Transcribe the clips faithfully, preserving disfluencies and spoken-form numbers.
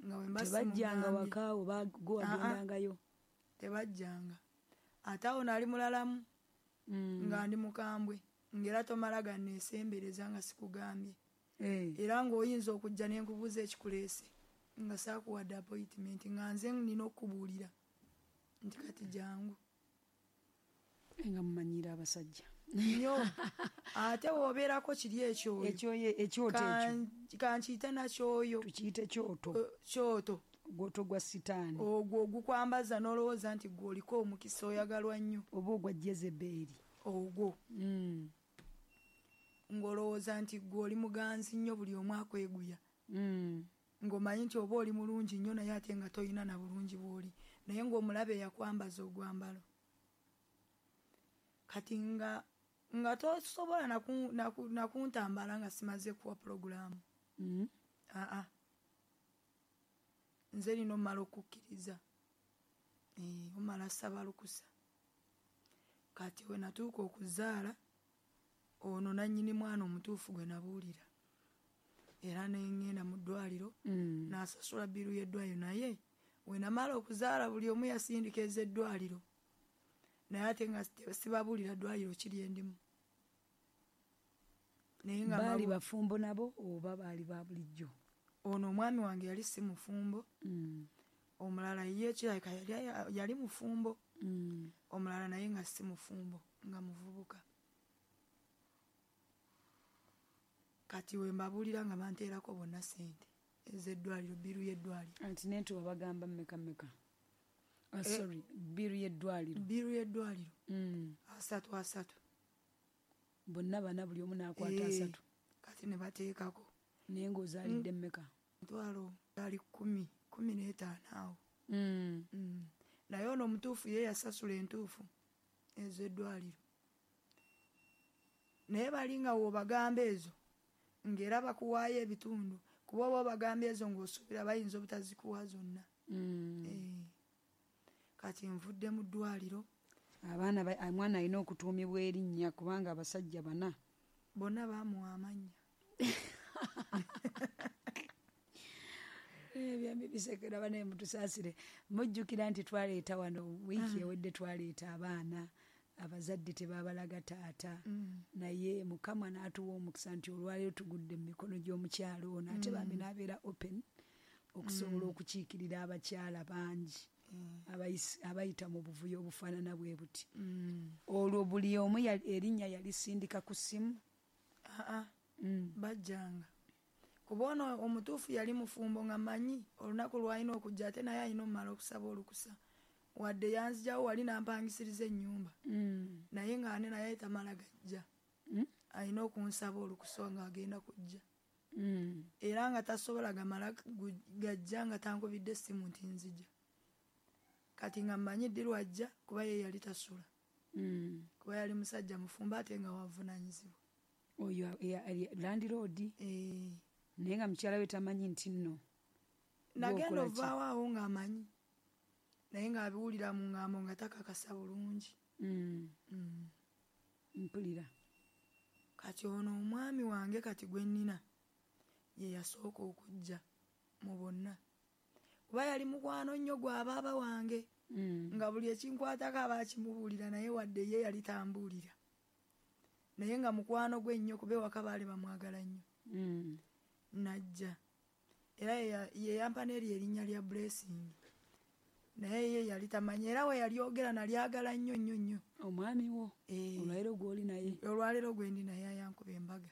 Nga we mba Tebajjanga simugambye. waka oba gwe wagendangayo? Tebajjanga. Ate awo nali mulalamu. Mm. Nga ndi mukambwe, ng'era tomala ganneesembereza nga sikugambye. Eh. Era ng'oyinza okujja ne nkubuuza ekikuleese nga saakuwadde appointment, nga nze nina okukubuulira nti kati jangu. Nga mumanyiira abasajja. Nnyo. Ate w'obeerako kiri ekyoyo. Ekyoyo, ekyoto ekyo. Kan-, kankiyite nakyoyo. Tukiyite kyoto. Eh, kyoto. Ogwoto gwa sitaani. Ogwo ogukwambaza n'olowooza nti gwe oliko omukisa oyagalwa nnyo. Oba ogwa Jezebeli. Ogwo. Mm. Ng'olowooza nti gwe oli muganzi nnyo buli omu akweguya. Mm. Ng'omanyi nti oba oli mulungi nnyo naye ate nga toyina na bulungi bw'oli. Naye ng'omulabe yakwambaza ogwambalo. Kati nga, nga tosobola naku-, naku-, nakuntambala nga simaze kuwa pulogulaamu. Mm. Aa. Nze nina omala okukkiriza. Eh, omala saba lukusa. Kati we natuuka okuzaala, ono nannyini mwana omutuufu gwe nabuulira. Era ne ŋŋenda mu ddwaliro, Mm. n'asasula bbiiru y'eddwaliro. Naye we namala okuzaala buli omu yasindika ez'eddwaliro. Naye ate nga si-, sibabuulira ddwaliro kiri endimu. Naye nga Baali mbabu- bafumbo nabo oba baali ba bulijjo? Ono omwami wange yali si mufumbo. Mm. Omulala ye kirabika yali, yali mufumbo. Mm. Omulala naye nga si mufumbo, nga muvubuka. Kati we mbabuulira nga banteerako bonna ssente ez'eddwaliro, bbiiru y'eddwaliro. Anti n'entu babagamba mmeka mmeka? Ah, Eh, sorry, bbiiru y'eddwaliro. Bbiiru y'eddwaliro. Mm. Asatu, asatu. Bonna bana buli omu n'akwata Eh, asatu. Kati ne bateekako. Naye ng'ozaalidde Mm. mmeka? Emitwalo gali kkumi, kkumi n'etaano awo. Mm. Mm. Naye ono omutuufu ye yasasula entuufu ez'eddwaliro. Naye bali nga w'obagamba ezo, ng'era bakuwaayo ebitundu, kuba oba obagamba ezo ng'osuubira bayinza obutazikuwa zonna. Mm. Eh. Kati nvudde mu ddwaliro. Abaana ba-, omwana alina okutuumibwa erinnya kubanga abasajja bana. Bonna baamuwa amannya. Eh, byambi bisekera bane mutusaasire. Mujjukira nti twaleeta wano wiiki Mm. ewedde twaleeta abaana abazadde tebabalaga taata. Mm. Naye Mukama n'atuwa omukisa nti olwaleero tugudde mu mikono gy'omukyalo ono ate Mm. bambi n'abeera open okusobola Mm. okukiikirira abakyala bangi Mm. abayis-, abayita mu buvuyo obufaanana bwe buti. Mm. Olwo buli omu yali, erinnya yalisindika ku ssimu? Aa, Mm. bajjanga. Kuba ono omutuufu yali mufumbo nga mmanyi olunaku lw'alina okujja ate naye alina omumala okusaba olukusa. Wadde yanzijawo wali n'ampangisiriza ennyumba. Mm. Naye ng'ane naye tamala gajja. Mm. Alina okunsaba olukusa ng'agenda kujja. Mm. Era nga tasobola gamala gu-, gajja nga tankubidde essimu nti nzija. Kati nga mmanyi ddi lw'ajja kuba ye yali tasula. Mm. Kuba yali musajja mufumbo ate nga wavunaanyizibwa. Oyo ya-, ya-, landlord? Eh. Naye nga mukyala we tamanyi nti nno. Nagenda Gw'okola ki? ovaawo awo ng'amanyi. Naye ng'abiwulira mu ŋŋambo nga takakasa bulungi. Mm. Mm. Mpulira. Kati ono omwami wange kati gwe nnina ye yasooka okujja mu bonna. Kuba yali mukwano nnyo gwa baaba wange. Mm. Nga buli ekinkwatako aba akimubuulira naye wadde ye yali tambuulira. Naye nga mukwano gwe nnyo kuba ewaka baali bamwagala nnyo. Mm. Najja. Era ye ya-, ye yampa n'eryo erinnya lya Blessing. Naye ye yali tamanyi era we yalyogera nalyagala nnyo nnyo nnyo. Omwami wo? Eh. Olwaleero gw'oli naye? Olwaleero gwe ndi naye ayankuba embaga.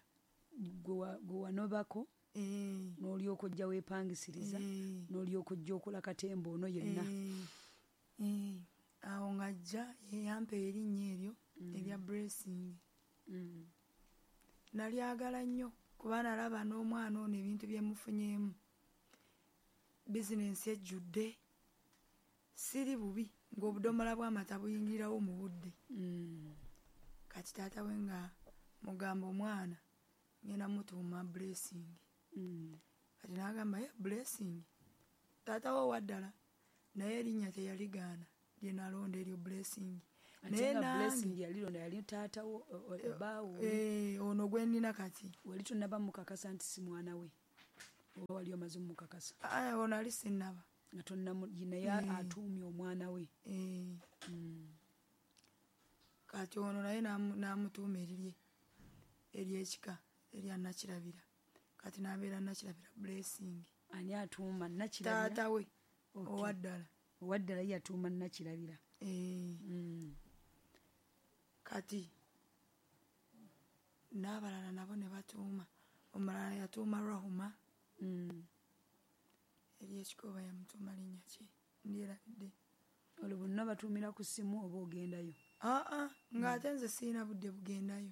Gwe wa-, gwe wanobako? Eh. N'olyoka ojja weepangisiriza? Eh. N'olyoka ojja okola katemba ono yenna? Eh. Eh. Awo ng'ajja ye yampa erinnya eryo Mm. erya Blessing. Mm. Nalyagala nnyo kuba nalaba n'omwana ono ebintu bye mufunyeemu. Bizinensi ejjudde. Siri bubi ng'obudomola bw'amata buyingirirawo mu budde. Mm. Kati taata we nga mugamba omwana ngenda mutuuma Blessing. Mm. Kati n'agamba ye Blessing. Taata we owa ddala naye erinnya teyaligaana lye nalonda eryo Blessing. Ate Naye nga nange Blessing yalironda yali taata wo, o, o, Eh, bbaawo. eh, ono gwe nnina kati. Wali tonnaba mukakasa nti si mwana we. Oba wali omaze omukakasa? Aa, ono ali sinnaba. Nga tonnamu, naye atuumye omwana we. Eh. Mm. Kati ono naye n'amu-, n'amutuuma erirye ery'ekika erya Nakirabira. Kati n'abeera Nakirabira Blessing. Ani atuuma Nakirabira? Taata we. Okay. Owa ddala. Owa ddala ye yatuuma Nakirabira. Eh. Mm. Kati n'abalala nabo ne batuuma. Omulala yatuuma Rahuma. Mm. Ery'ekika oba yamutuuma linnya ki? Ndyerabidde. Olwo bonna batuumira ku ssimu oba ogendayo? Aa, ng'ate nze sirina budde bugendayo.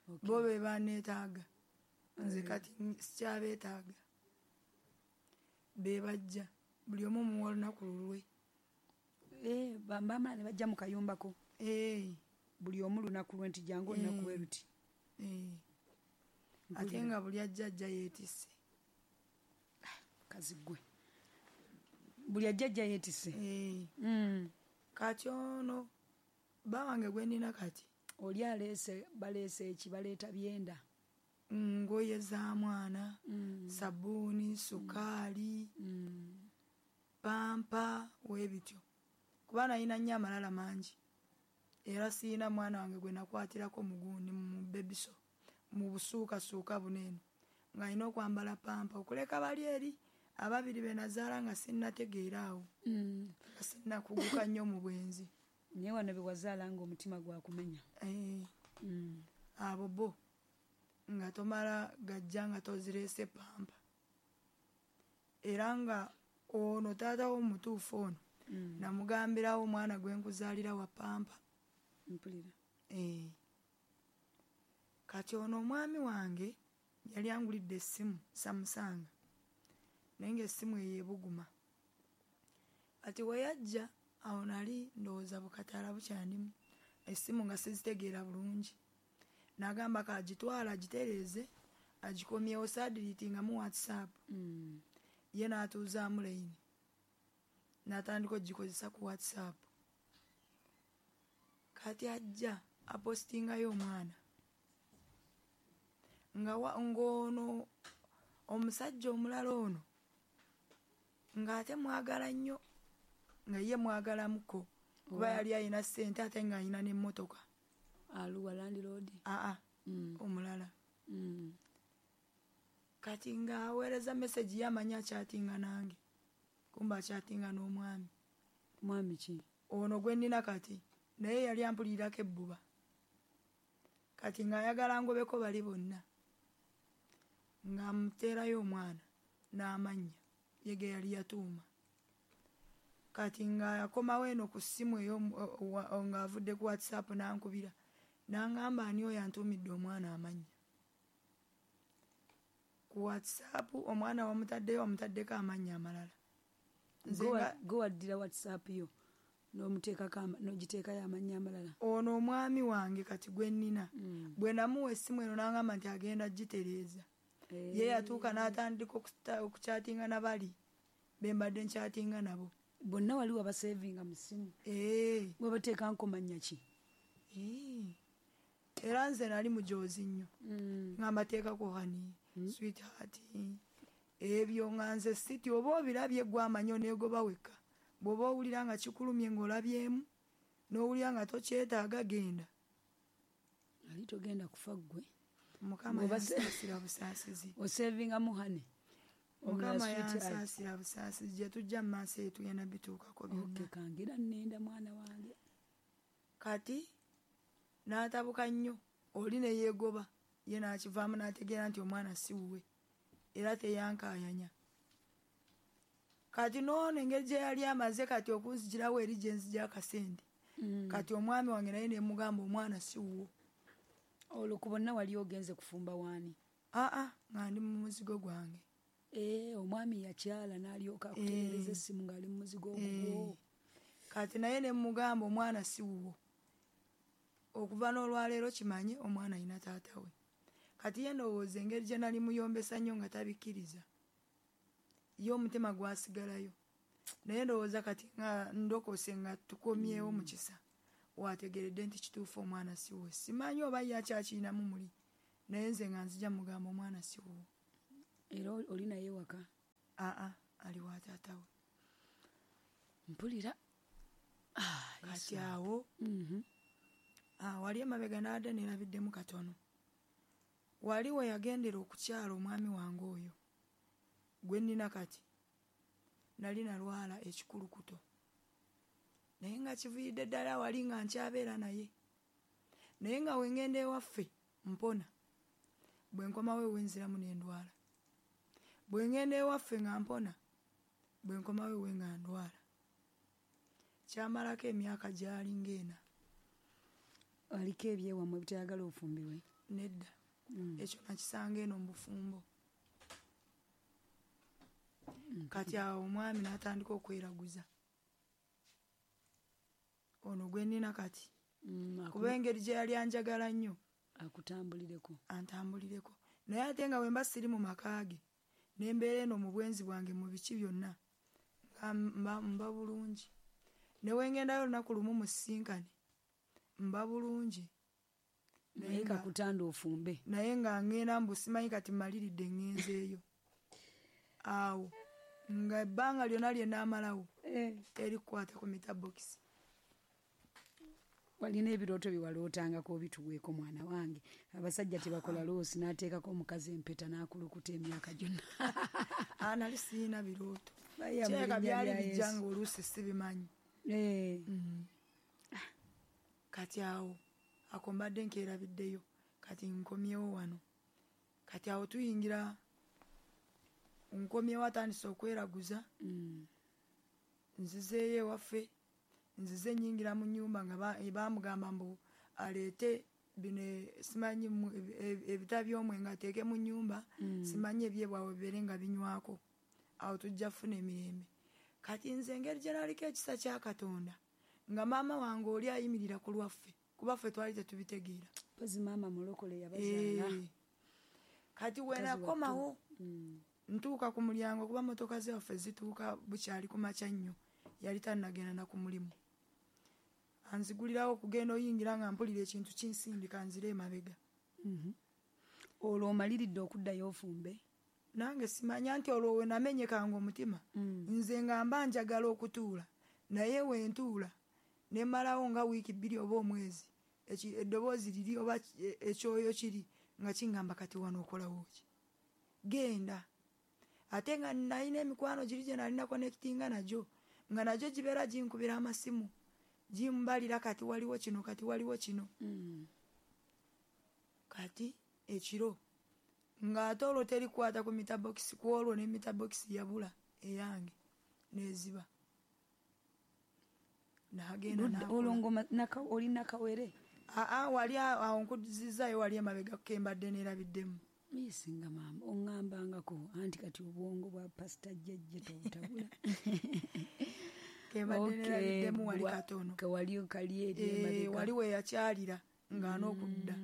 Okay. Bo be banneetaaga. Nze Eh. kati sikyabeetaaga. Be bajja. Buli omu muwa olunaku lulwe. Eh, ba-, bamala ne bajja mu kayumbako. Eh. Buli omu lunaku lwe nti jangu olunaku Eh. bwe luti. Eh. Mpulira. Ate nga buli ajja ajja yeetisse. Kazi ggwe. Buli ajja ajja yeetisse. Eh. Mm. Kati ono bba wange gwe nnina kati. Oli aleese, baleese eki, baleeta byenda. Ngoye za mwana, Mm. sabbuuni, sukaali, Mm. pampa, weebityo. Kuba nalina nnyo amalala mangi. Era siyina mwana wange gwe nakwatirako mu gundi, mu bebiso, mu busuukasuuka buno eno. Ng'alina okwambala pampa, okuleka bali eri ababiri be nazaala nga sinnategeera awo. Mm. Nga sinnakuguka nnyo mu bwenzi. Naye wano be wazaala ng'omutima gwakumenya. Eh. Mm. Abo bo nga tomala gajja nga tozireese pampa. Era nga ono taata wo omutuufu ono, Mm. namugambirawo omwana gwe nkuzaalira wa pampa. Mpulira. Eh. Kati ono omwami wange yali angulidde essimu Samsung. Naye ng'essimu eyo ebuguma. Kati we yajja awo nali ndowooza bukataala bukyandimu. Essimu nga sizitegeera bulungi. N'agamba k'agitwale agitereeze agikomyewo saadiriitingamu WhatsApp. Mm. Ye n'atuuzaamu layini. N'atandika okugikozesa ku WhatsApp. Kati ajja apostingayo omwana. Nga wa-, ng'ono omusajja omulala ono ng'ate mwagala nnyo, nga ye mwagalamuko. Kuba Owa. yali alina ssente ate ng'alina n'emmotoka. Aluwa landlord? Aa, Mm. omulala. Mm. Kati ng'aweereza message ye amanyi akyatinga nange. Kumbe akyatinga n'omwami. Mwami ki? Ono gwe nnina kati, naye yali ampulirako ebbuba. Kati ng'ayagala ngobeko bali bonna. Ng'amuteerayo omwana n'amannya ye ge yali yatuuma. Kati ng'akomawo eno ku ssimu ey'omu-, o-, o-, o-, ng'avudde ku WhatsApp n'ankubira. N'angamba ani oyo antuumidde omwana amannya. Ku WhatsApp omwana wamutaddeyo wamutaddeko amannya amalala. Nze Gwe wa- nga gwe waddira WhatsApp yo n'omuteekako ama-, n'ogiteekayo amannya amalala. Ono omwami wange kati gwe nnina. Mm. Bwe namuwa essimu eno n'angamba nti agenda gitereeza. Eh. Ye yatuuka n'atandika okuta-, okukyatinga na bali be mbadde nkyatinga nabo. Bonna wali wabasevinga mu ssimu. Eh. Wabateeka nkomannya ki? Eh. Era nze nali mujoozi nnyo. Mm. Nga mbateekako honey, Mm. sweetheart. Ebyo nga nze siti oba obirabye gwe amanyi oneegoba wekka. Bw'oba owulira nga kikulumye ng'olabyemu, n'owulira nga tokyetaaga genda. Ali togenda kufa ggwe. Mukama Bw'oba se- yansaasira busaasizi. Osevingamu honey. Mukama Omulala sweetheart. yansaasira busaasizi. Gye tujja mu maaso eyo tugenda bituukako byonna. Okay, kangira nnenda mwana wange. Kati n'atabuka nnyo, oli ne yeegoba. Ye n'akivaamu n'ategeera nti omwana si wuwe. Era teyankaayanya. Kati n'ono engeri gye yali amaze kati okunzigirawo eri gye nzigya akasente. Mm. Kati omwami wange naye ne mugamba omwana si wuwo. Olwo ku bonna wali ogenze kufumba waani? Aa, nga ndi mu muzigo gwange. Eh, omwami yakyala n'alyoka akutereereza Eh. essimu ng'ali mu muzigo ogwo. Eh. Kati naye ne mugamba omwana si wuwo. Okuva n'olwaleero kimanye omwana alina taata we. Kati ye ndowooza engeri gye nali muyombesa nnyo nga tabikkiriza. Ye omutima gwasigalayo. Naye ndowooza kati nga ndokose nga tukomyewo mu kisa. Wategeredde nti kituufu omwana si wuwe. Simanyi oba ye akyakirinamu muli. Naye nze nga nzija mugamba omwana si wuwo. Era oli naye waka? Aa, ali wa taata we. Mpulira. Kati awo wali emabega n'adde neerabiddemu katono. Wali we yagendera okukyala omwami wange oyo gwe nnina kati, nali nalwala ekikulukuto, naye nga kiviiridde ddala wali nga nkyabeera naye, naye nga we ŋŋenda ewaffe mpona, bwe nkomawo ewe nziramu ne ndwala, bwe ŋŋenda ewaffe nga mpona, bwe nkomawo ewe nga ndwala. Kyamalako emyaka gyali ng'ena. Aliko ebyewammwe bitayagala ofumbirwe? Nedda. Ekyo nakisanga eno mu bufumbo. Kati awo omwami n'atandika okweraguza ono gwe nnina kati, kuba engeri gye yali anjagala nnyo akutambulireko, antambulireko. Naye ate nga bwe mba siri mu maka ge n'embeera eno mu bwenzi bwange mu biki byonna nga mba bulungi, ne we ŋŋendayo olunaku lumu musisinkane mba bulungi, naye kakutanda ofumbe, naye nga ŋŋenda mbu simanyi kati mmaliridde ŋŋenzeeyo. Awo nga ebbanga lyonna lye nnaamalawo terikukwata ku metabokisi. Walina ebirooto bye walootangako obituweeko mwana wange. Abasajja tebakola loosi n'ateekako omukazi empeta n'akulukuta emyaka gyonna. Aa, nali sirina birooto, kirabika byali bijja nga oluusi sibimanyi. Kati awo ako mbadde nkeerabiddeyo, kati nkomyewo wano. Kati awo tuyingira, nkomyewo atandise okweraguza, nzizeeyo ewaffe, nzize nnyingira mu nnyumba nga baamugamba mbu aleete bino simanyi ebita by'omwenge ateeke mu nnyumba, simanyi ebyebwawe bibeere nga binywako, awo tujja kufuna emirembe. Kati nze engeri gye naliko ekisa kya Katonda, nga maama wange oli ayimirira ku lwaffe, kuba ffe twali tetubitegeera. Mpozi maama mulokole yabazaala. Kati we nakomawo ntuuka ku mulyango, kuba mmotoka zaffe zituuka bukyali ku makya nnyo, yali tannagenda na ku mulimu. Anzigulirawo okugenda oyingira nga mpulira ekintu kinsindika nzire emabega. Olwo omaliridde okuddayo ofumbe? Nange simanya nti olwo we namenyekanga omutima, nze nga mba njagala okutuula, naye we ntuula ne mmalawo nga wiiki bbiri oba omwezi, eddoboozi liri oba ekyoyo kiri nga kingamba kati wano okolawo ki? Genda. Ate nga nalina emikwano giri gye nalina connectinga nagyo, nga nagyo gibeera ginkubira amasimu, gimbalira kati waliwo kino, kati waliwo kino. Kati ekiro ng'ate olwo terikwata ku metabokisi, ku olwo ne metabokisi yabula eyange n'eziba. N'agenda olwo ng'oma oli nakawere? Aa, wali awo nkuzizaayo wali emabega ke mbadde neerabiddemu. Misinga maama oŋŋambangako anti kati obwongo bwa pasita jjajja tobutabula. Ke mbadde neerabiddemu wali katono. Wali kali eri emabega. Wali we yakyalira ng'an'okudda.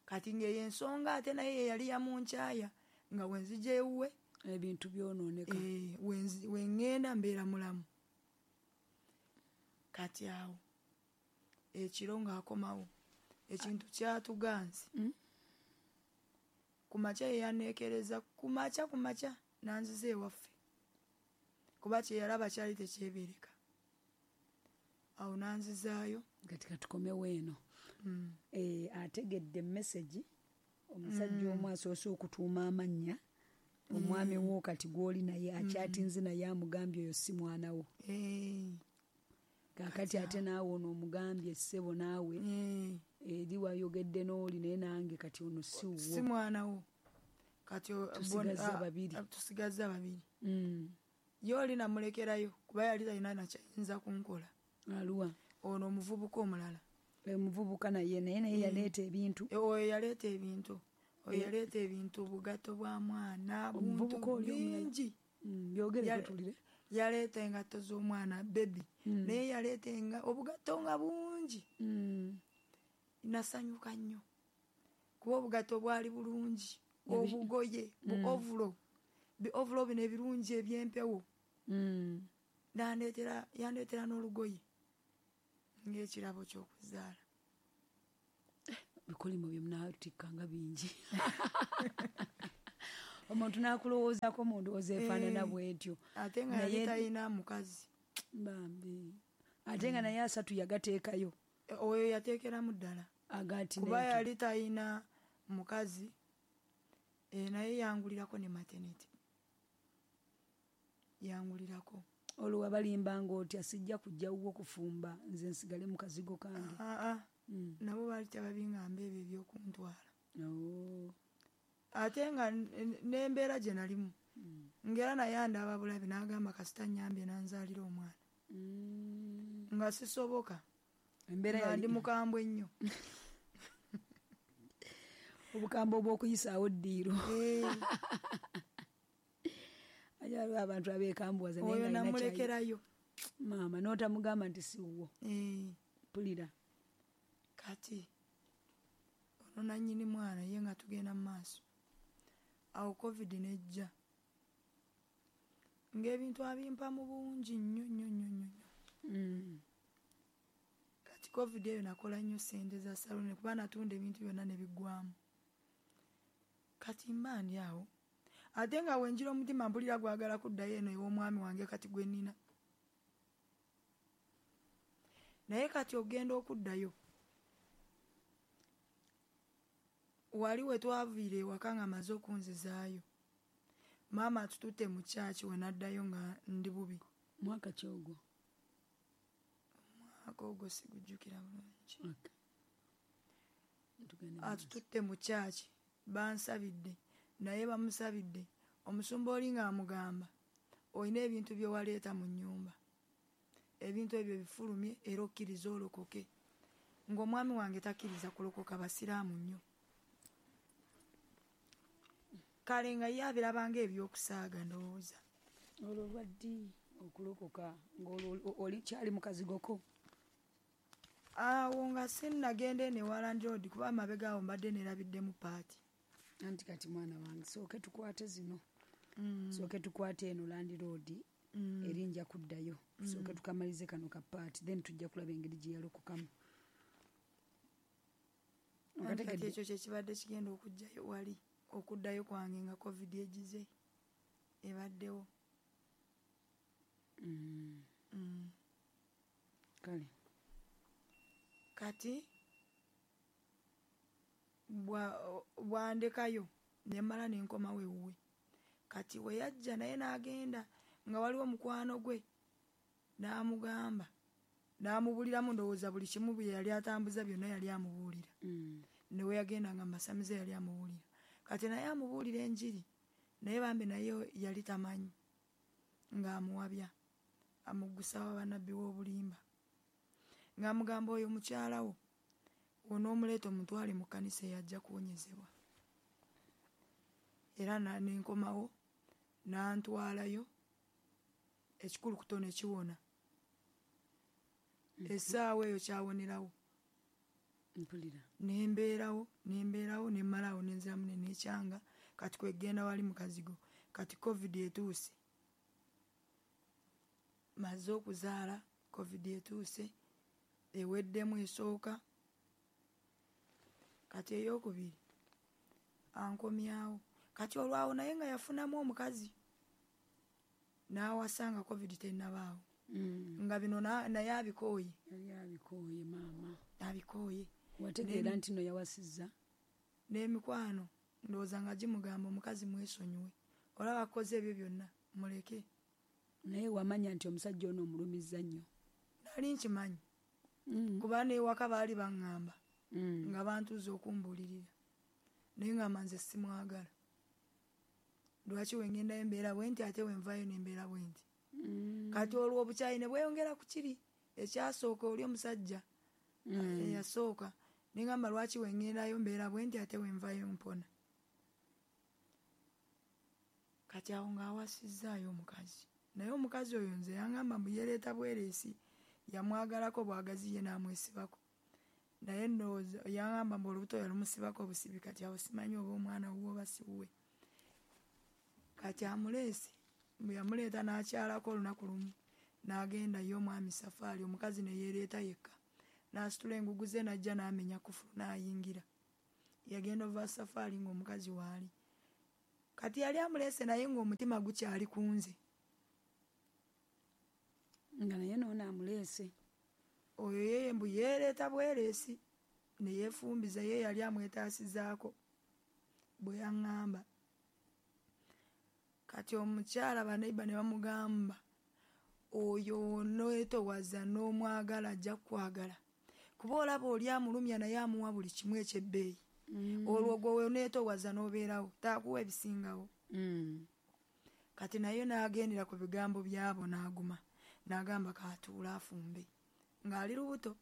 Kati ng'eyo ensonga ate naye ye yali yamunkyaya nga we nzija ewuwe ebintu byonooneka. We ŋŋenda mbeera mulamu. Kati awo ekiro ng'akomawo ekintu kyatuganze. Ku makya ye yanneekereza, ku makya ku makya n'anziza ewaffe, kuba kye yalaba kyali tekyebeereka. Awo n'anzizaayo. Kati katukomewo eno. Ategedde message omusajja omu asoose okutuuma amannya, omwami wo kati gw'oli naye akyatinze naye amugambye oyo si mwana wo. Kaakati ate naawe ono omugambye ssebo naawe eri wayogedde n'oli naye nange kati ono si wuwo. Si mwana wo. Kati tusigazza babiri. Tusigazza babiri. Ye oli namulekerayo kuba yali talina na kyayinza kunkola. Aluwa? Ono omuvubuka omulala. Omuvubuka naye naye naye yaleeta ebintu. Oyo yaleeta ebintu. Oyo yaleeta ebintu, obugatto bwa mwana, buntu bingi. Byogere tulire. Yaleeta engatto z'omwana bebi, naye yaleeta obugatto nga bungi. Nasanyuka nnyo kuba obugatto bwali bulungi, obugoye, bu ovulo, bi ovulo bino ebirungi eby'empewo. Yandeetera yandeetera n'olugoye ng'ekirabo ky'okuzaala. Bikolimo bye munaatikkanga bingi. Omuntu n'akulowoozaako mu ndowooza efaanana bw'etyo. Ate nga yali talina mukazi. Bambi. Ate nga naye asatu yagateekayo. Oyo yateekeramu ddala. Agati kuba yali talina mukazi, e, naye yangulirako ne maternity. Yangulirako. Olwo wabalimbanga otya sijja kujja wuwo kufumba nze nsigale mu kazigo kange. Aa, mm. Nabo baali tebabingamba ebyo ebyokuntwala. Oh. Ate nga n'embeera gye nalimu. Mm. Ngera naye andaba bulabi n'agamba kasita nnyambye n'anzaalira omwana. Mm. Nga sisoboka. Embeera Nga yali ndi mukambwe nnyo. Obukambwe obw'okuyisaawo ddiiro. Eh. Waliwo abantu abeekambuwaza naye Oyo nga alina kyayi. namulekerayo. Maama n'otamugamba nti si wuwo. Eh. Mpulira. Kati ono nannyini mwana ye nga tugenda mu maaso. Awo COVID n'ejja. Ng'ebintu abimpa mu bungi nnyo nnyo nnyo nnyo. Mm. Kati COVID eyo nakola nnyo ssente za saluuni kuba natunda ebintu byonna ne biggwamu. Kati mba ndi awo. Ate nga wenjira omutima mpulira gwagala kuddayo eno ew'omwami wange kati gwe nnina. Naye kati ogenda okuddayo. Wali we twaviira ewaka nga maze okunzizaayo. Maama atututte mu kyaki we naddayo nga ndi bubi. Mwaka ki ogwo? Omwaka ogwo sigujjukira bulungi. Okay. Tugende mu maaso. Atututte mu kyaki bansabidde naye bamusabidde. Omusumba oli ng'amugamba olina ebintu bye waleeta mu nnyumba. Ebintu ebyo bifulumye era okkirize olokoke. Ng'omwami wange takkiriza kulokoka, basiraamu nnyo. Kale nga ye abirabanga ebyokusaaga ndowooza. Olwo lwa ddi okulokoka ng'olwo oli kyali mu kazigoko? Awo nga sinnagenda eno ewa landlord kuba amabega awo mbadde neerabiddemu paati. Anti kati mwana wange sooke tukwate zino. Mm. Sooke tukwate eno landlord Mm. eri nja kuddayo. Mm. Sooke tukamalize kano ka paati then tujja kulaba engeri gye yalokokamu. Anti kati ekyo kye kibadde kigenda okujjayo wali okuddayo kwange nga COVID egize ebaddewo. Mm. Mm. Kale. Kati bwa bwandekayo ne mmala ne nkomawo ewuwe. Kati we yajja naye n'agenda nga waliwo mukwano gwe n'amugamba n'amubuliramu ndowooza buli kimu bye yali atambuza byonna yali amubuulira. Mm. Ne we yagenda nga masamize yali amubuulira. Kati naye amubuulira enjiri naye bambi naye yali tamanyi ng'amuwabya amuggusa bannabbi w'obulimba. Ng'amugamba oyo mukyala wo onoomuleeta omutwale mu kkanisa eyajja kuwonyezebwa. Era ne nkomawo n'antwalayo ekikulukuto ne kiwona. Essaawa eyo kyawonerawo. Mpulira. Ne mbeerawo, ne mbeerawo ne mmalawo ne nziramu ne neekyanga kati kwegenda wali mu kazigo. Kati COVID etuuse. Maze okuzaala COVID etuuse eweddemu esooka. Kati ey'okubiri ankomyawo. Kati olwawo naye nga yafunamu omukazi n'awasa nga COVID tennabaawo. Mm. Nga bino naye abikooye. Yali abikooye maama. Abikooye. Wategeera nti no yawasizza? N'emikwano ndowooza nga gimugamba omukazi mwesonyiwe. Olaba akoze ebyo byonna muleke. Naye wamanya nti omusajja ono omulumizza nnyo? Nali nkimanyi. Mm. Kuba n'ewaka baali baŋŋamba. Mm. Nga bantuuza okumbuulirira. Naye ngamba nze simwagala. Lwaki we ŋŋendayo embeera bwe nti ate we nvaayo n'embeera bwe nti. Mm. Kati olwo obukyayi ne bweyongera ku kiri ekyasooka oli omusajja Mm. eyasooka. Ne ŋŋamba lwaki we ŋŋendayo mbeera bwe nti ate we nvaayo mpona. Kati awo ng'awasizzaayo omukazi. Naye omukazi oyo nze yaŋŋamba mbu yeereeta bwereesi yamwagalako bwagazi ye n'amwesibako. Naye ndowooza yaŋŋamba mbu olubuto yalumusibako obusibi kati awo simanyi oba omwana wuwe oba si wuwe. Kati amuleese mbu yamuleeta n'akyalako olunaku lumu n'agenda ye omwami Safaari omukazi ne yeereeta yekka. N'asitula engugu ze n'ajja n'amenya kufulu n'ayingira. Yagenda ova Safaari ng'omukazi waali. Kati yali amuleese naye ng'omutima gukyali ku nze. Nga naye noono amuleese. Oyo ye mbu yeereeta bwereesi ne yeefumbiza, ye yali amwetaasizaako bwe yaŋŋamba. Kati omukyala baneiba ne bamugamba oyo oneetowaza n'omwagala ajja kukwagala. Kuba olaba oli amulumya naye amuwa buli kimu eky'ebbeeyi. Mm. Olwo gwe oneetowaza n'obeerawo taakuwa ebisingawo. Mm. Kati naye n'agendera ku bigambo byabo n'aguma n'agamba kaatuule afumbe ng'ali lubuto.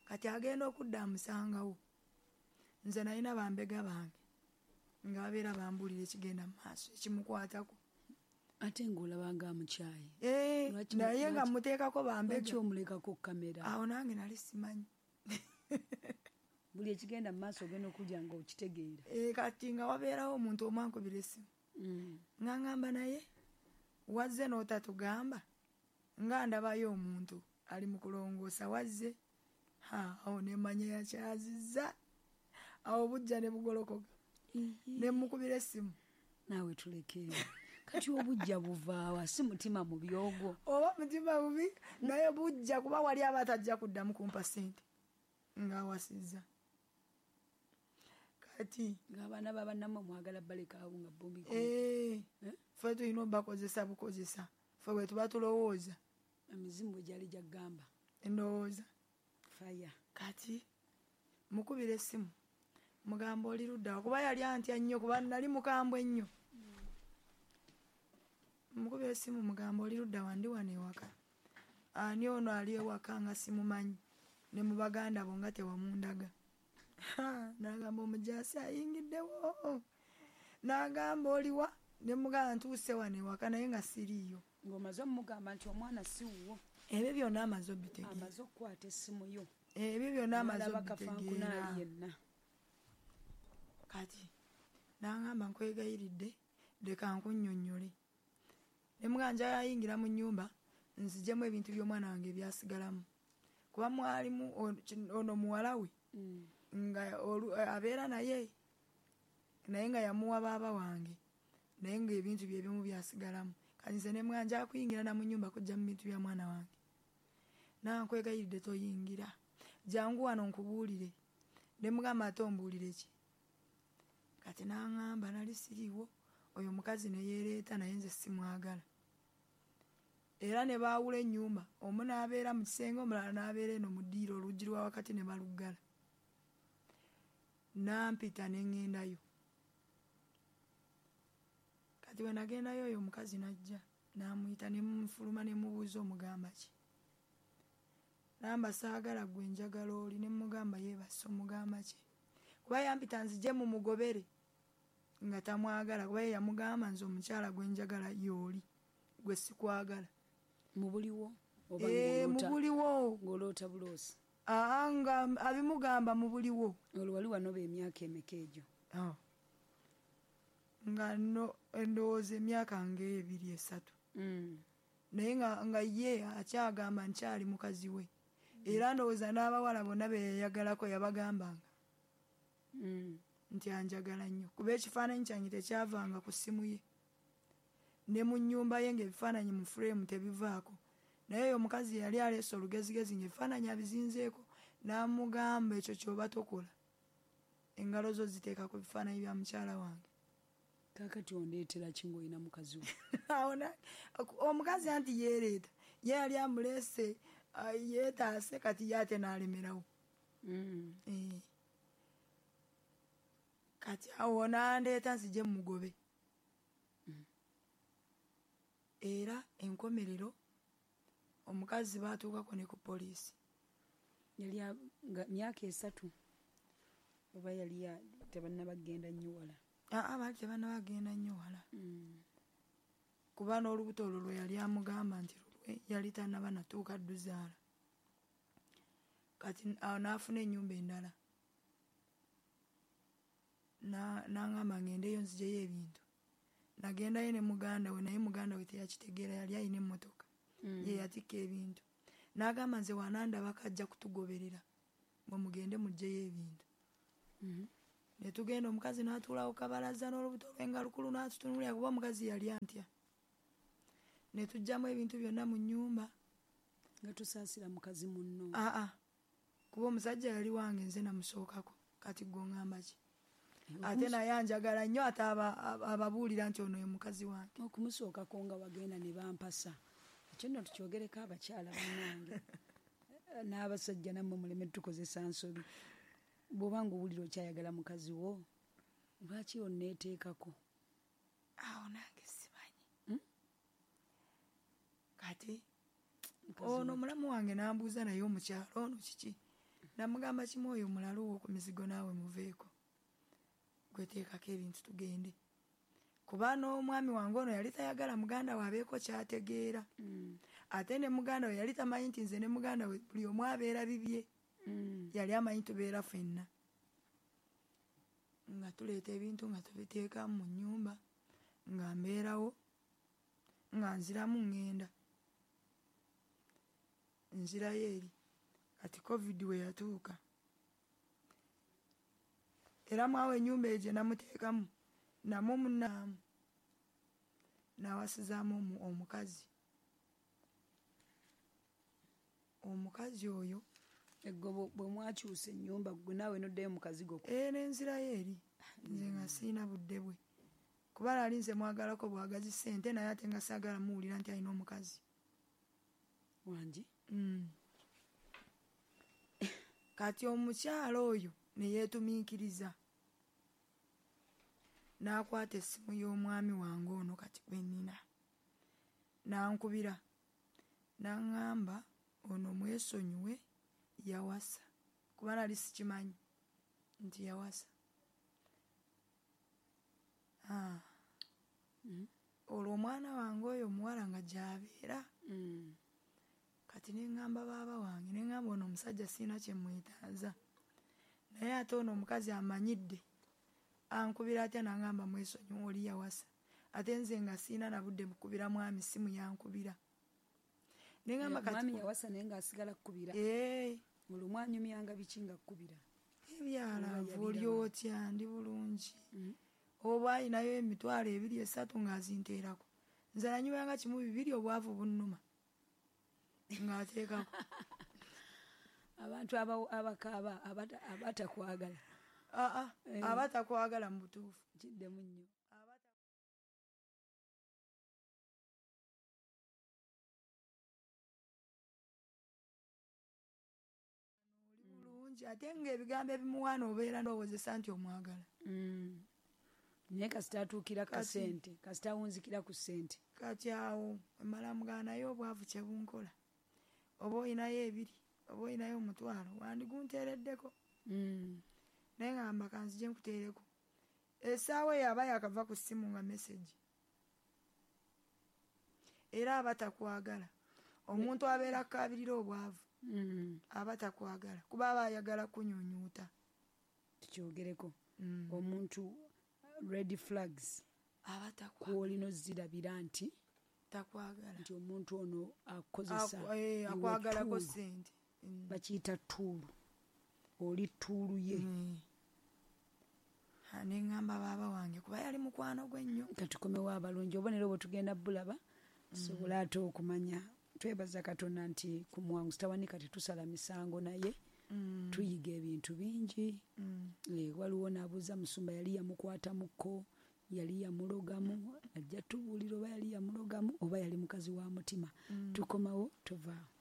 Kati agenda okudda amusangawo. Nze nalina bambega bange nga babeera bambuulira ekigenda mu maaso ekimukwatako. Ate ng'olaba nga amukyaye. Eh, Lwaki naye nga lwaki muteekako bambega. Lwaki omulekako kamera? Awo nange nali simanyi. Buli ekigenda mu maaso ogenda okulya ng'okitegeera. Eh, kati nga wabeerawo omuntu omu ankubira essimu. Mm. Nga ngamba naye wazze n'otatugamba nga ndabayo omuntu ali mu kulongoosa wazze. Ha, awo ne mmanya yakyazizza. Awo bujja ne bugolokoka. Ne mmukubira essimu. Naawe tulekeewo. Kati obujja buvaawa si mutima mubi ogwo. Oba mutima mubi naye bujja kuba wali aba atajja kuddamu kumpa ssente ng'awasizza. Kati ng'abaana ba bannammwe mwagala balekaawo nga bo mbiko. Eh, Eh? ffe tulina obbakozesa bukozesa. Ffe bwe tuba tulowooza. Emizimu bwe gyali gyaggamba. Endowooza. Fire. Kati mukubira essimu mugamba oli ludda wa kuba yali antya nnyo kuba nali mukambwe nnyo. Mukubira essimu mugamba oli ludda wa ndi wano ewaka. Ani ono ali ewaka nga simumanyi ne mu baganda bo nga tewamundaga. N'agamba omujaasi ayingiddewo. N'agamba oliwa ne mugamba ntuuse wano ewaka naye nga siriiyo. Ng'omaze omugamba nti omwana si wuwo. Ebyo byonna amaze obitegeera. Amaze okukwata essimu yo. Ebyo byonna amaze N'alaba kafankuna obitegeera. ali yenna. Kati n'angamba nkwegayiridde leka nkunnyonnyole. Ne mugamba njagala ayingira mu nnyumba nzigyemu ebintu by'omwana wange ebyasigalamu. Kuba mwalimu ono, ono muwala we Mm. nga olu-, abeera naye naye nga yamuwa baaba wange naye ng'ebintu bye ebimu byasigalamu. Kati nze ne mugamba njagala kuyingira na mu nnyumba kuggya mu bintu bya mwana wange. Nange nkwegayiridde toyingira. Jangu wano nkubuulire. Ne mugamba ate ombuulire ki? Kati n'aŋŋamba nali siriiwo oyo omukazi ne yeereeta naye nze simwagala. Era ne baawula ennyumba omu n'abeera mu kisenge omulala n'abeera eno mu ddiiro oluggi lwa wakati ne baluggala. Nampita ne ŋŋendayo. Kati bwe nagendayo oyo omukazi n'ajja n'amuyita ne munfuluma ne mubuuza omugamba ki. Namba saagala gwe njagala oli ne mugamba yeebase omugamba ki. Kuba yampita nzije mumugobere nga tamwagala kuba ye yamugamba nze omukyala gwe njagala y'oli gwe sikwagala. Mu buliwo oba Eh, mu ng'oloota? buliwo. Ng'oloota buloosi. Aa, nga abimugamba mu buliwo. Olwo wali wanoba emyaka emeka egyo? Ah. Nga no endowooza emyaka ng'ebiri esatu. Mm. Naye nga, nga ye akyagamba nkyali mukazi we. Era ndowooza n'abawala bonna be yayagalako yabagambanga. Mm. Nti anjagala nnyo. Kuba ekifaananyi kyange tekyavanga ku ssimu ye. Ne mu nnyumba ye ng'ebifaananyi mu fureemu tebivaako. Naye oyo omukazi yali aleese olugezigezi ng'ebifaananyi abizinzeeko n'amugamba ekyo ky'oba tokola. Engalo zo ziteeka ku bifaananyi bya mukyala wange. Kaakati ondeetera ki ng'olina mukazi wo? Awo na-, omukazi anti yeereeta. Ye yali amuleese, ah, yeetaase kati ye ate n'alemerawo. Mm. Eh. Kati awo n'andeeta nzije mmugobe. Mm. Era enkomerero omukazi baatuukako ne ku poliisi. Yali a-, nga myaka esatu oba yali ya-, tebannabagenda nnyo wala? Aa, baali tebannabagenda nnyo wala. Mm. Kuba n'olubuto olwo lwe yali amugamba nti lulwe yali tannaba natuuka dduzaala. Kati awo n'afuna ennyumba endala. Na-, n'angamba ngendeyo nziggyeyo ebintu. Nagendayo ne muganda we naye muganda we teyakitegeera yali alina emmotoka. Mm. Ye yatikka ebintu. N'agamba nze wanandaba kajja kutugoberera. Mwe mugende muggyeyo ebintu. Mm-hmm. Ne tugenda, omukazi n'atuulawo kabalaza n'olubuto lwe nga lukulu, n'atutunuulira, kuba omukazi yali antya. Ne tuggyamu ebintu byonna mu nnyumba. Nga tusaasira mukazi munno. Aa, kuba omusajja yali wange, nze namusookako. Kati gwe oŋŋamba ki? Ate naye anjagala nnyo, ate ababuulira nti ono ye mukazi wange. Okumusookako nga wagenda ne bampasa, ekyo nno tukyogereko abakyala bannange n'abasajja, nammwe muleme tukozesa nsobi. Bw'oba nga owulira okyayagala mukazi wo, lwaki onneeteekako? Awo nange simanyi. hmm? Kati ono omulamu wange n'ambuuza, naye omukyalo ono kiki? Namugamba kimu, oyo mulalu wo ku mizigo, naawe muveeko, gweteekako ebintu tugende. Kuba n'omwami wange ono yali tayagala muganda we abeeko kyategeera. mm. Ate ne muganda we yali tamanyi nti nze ne muganda we buli omu abeera bibye. mm. Yali amanyi tubeera ffenna, nga tuleeta ebintu nga tubiteeka mu nnyumba, nga mbeerawo, nga nziramu ŋŋenda nzirayo eri. Kati COVID we yatuuka, era mwawo ennyumba egyo namuteekamu namwo munaamu, nawasizaamu omukazi. Omukazi oyo Eggo bwe mwakyusa ennyumba, gwe naawe noddayo mu kazigo? Ee, nenzirayo eri, nze nga siina budde bwe, kuba nali nze mwagalako bwagazi ssente, naye ate nga saagala muwulira nti alina omukazi. Wangi. mm. Kati omukyalo oyo ne yeetumiikiriza n'akwata essimu y'omwami wange ono kati gwe nnina, n'ankubira n'aŋŋamba ono mwesonyiwe, yawasa. Kuba nali sikimanyi nti yawasa. ah. mm. Olwo omwana wange oyo omuwala nga gy'abeera. mm. Kati neŋŋamba baaba wange, neŋŋamba ono omusajja siina kye mwetaaza, naye ate ono omukazi amanyidde, ankubira atya n'aŋŋamba mwesonyiwe, oli yawasa? Ate nze nga siina na budde mukubira mwami simu, yankubira. Neŋŋamba kati mwami yawasa naye ng'asigala kkubira? Ee. Olwo mwanyumyanga biki nga kkubira? Ebyalaavu, oli otya, ndi bulungi. mm. Oba ayinayo emitwalo ebiri esatu ng'azinteerako. Nze nanyumyanga kimu bibiri, obwavu bunnuma, ng'ateekako. Abantu abakaaba abatakwagala. Aa, abatakwagala mu butuufu. Kiddemu nnyo. Oli bulungi, ate ng'ebigambo ebimuwaana obeera ndowozesa nti omwagala. mm. Naye kasita atuukira kasente, kasita awunzikira ku ssente. Kati awo emala mugana, naye obwavu kyebunkola, oba oyinayo ebiri, oba oyinayo omutwalo, wandigunteereddeko. mm. Naye ngamba kanzije nkuteereko. Essaawa eyo aba yakava ku ssimu nga message. Era aba takwagala. Omuntu abeera akkaabirira obwavu mm. aba takwagala, kuba aba ayagala kunyunyuuta. Tukyogereko. mm. Omuntu red flags aba takwagala, kwolina ozirabira nti takwagala, nti omuntu ono akozesa. eh, akwagalako ssente. mm. Bakiyita tuulu, oli tuulu ye. mm. Neŋŋamba baaba wange, kuba yali mukwano gwe nnyo. Katukomewo abalungi, obubonero bwe tugenda bulaba tusobole ate okumanya. Twebaza Katonda nti ku Muwanguzi Tawanika tetusala misango, naye mm. tuyiga ebintu bingi. mm. E, waliwo n'abuuza musumba yali yamukwatamuko, yali yamulogamu, ajja tubuulira oba yali yamulogamu oba yali mukazi wa mutima. mm. Tukomawo, tovaawo.